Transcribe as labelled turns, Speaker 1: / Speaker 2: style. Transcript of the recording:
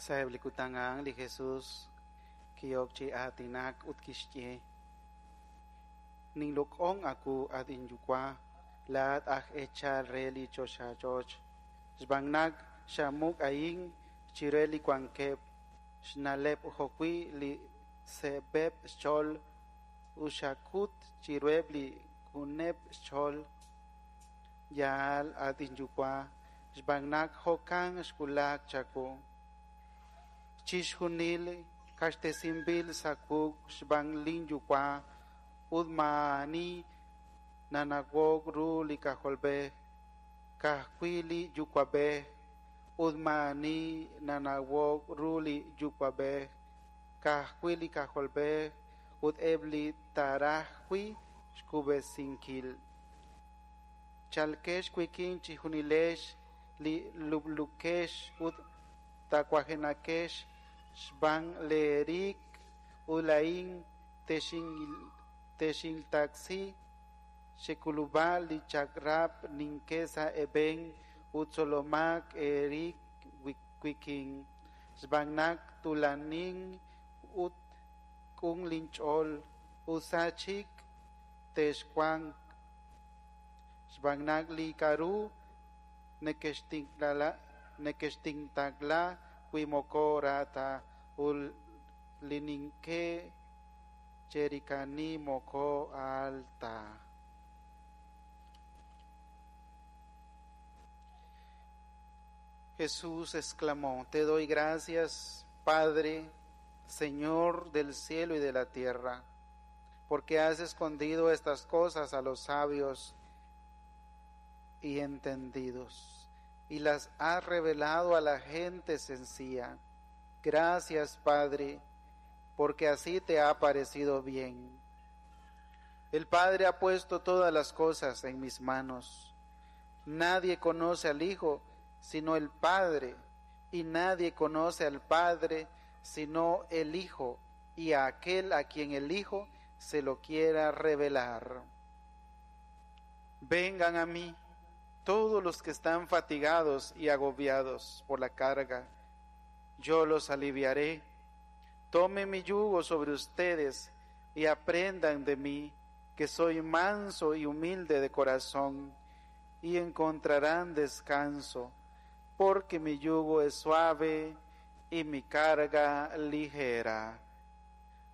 Speaker 1: Sa'eb' li kutan a'an li Jesus ki'ok chi aatinak ut kixye: Ninloq'on aawu, at inYuwa', laa'at aj eechal re li choxach'och', xb'aan naq xamuq a'in chire li wankeb' xna'leb' jo'wi' li seeb'eb' xch'ool ut xak'ut chiruheb' li q'uneb' xch'ool. Yaal, at inYuwa', xb'aan naq jo'kan xwulak chawu. Chixjunil q'axtesinb'il sa' wuq' xb'aan linYuwa' ut maa'ani nanawok ru li K'ajolb'ej, ka'ajwi' li Yuwa'b'ej, ut maa'ani nanawok ru li Yuwa'b'ej, ka'ajwi' li K'ajolb'ej ut eb' li taaraj wi' xkub'esinkil. Chalqex wik'in chejunilex li lub'luukex ut tawajenaqex xb'aan leeriiq, ut laa'in texintaqsi. Chek'ulub'a li chaq'rab' nink'e sa' eeb'en ut tzolomaq eerib' wik'in, xb'aan naq tuulanin ut q'un linch'ool, ut sa chik texwanq, xb'aan naq li k'aru nekexintaqla wi' moko ra ta ut li nink'e cheriiqani moko aal ta. Jesús exclamó: Te doy gracias, Padre, Señor del cielo y de la tierra, porque has escondido estas cosas a los sabios y entendidos, y las has revelado a la gente sencilla. Gracias, Padre, porque así te ha parecido bien. El Padre ha puesto todas las cosas en mis manos. Nadie conoce al Hijo sino el Padre, y nadie conoce al Padre sino el Hijo, y a aquel a quien el Hijo se lo quiera revelar. Vengan a mí todos los que están fatigados y agobiados por la carga, yo los aliviaré. Tomen mi yugo sobre ustedes y aprendan de mí, que soy manso y humilde de corazón, y encontrarán descanso, porque mi yugo es suave y mi carga ligera.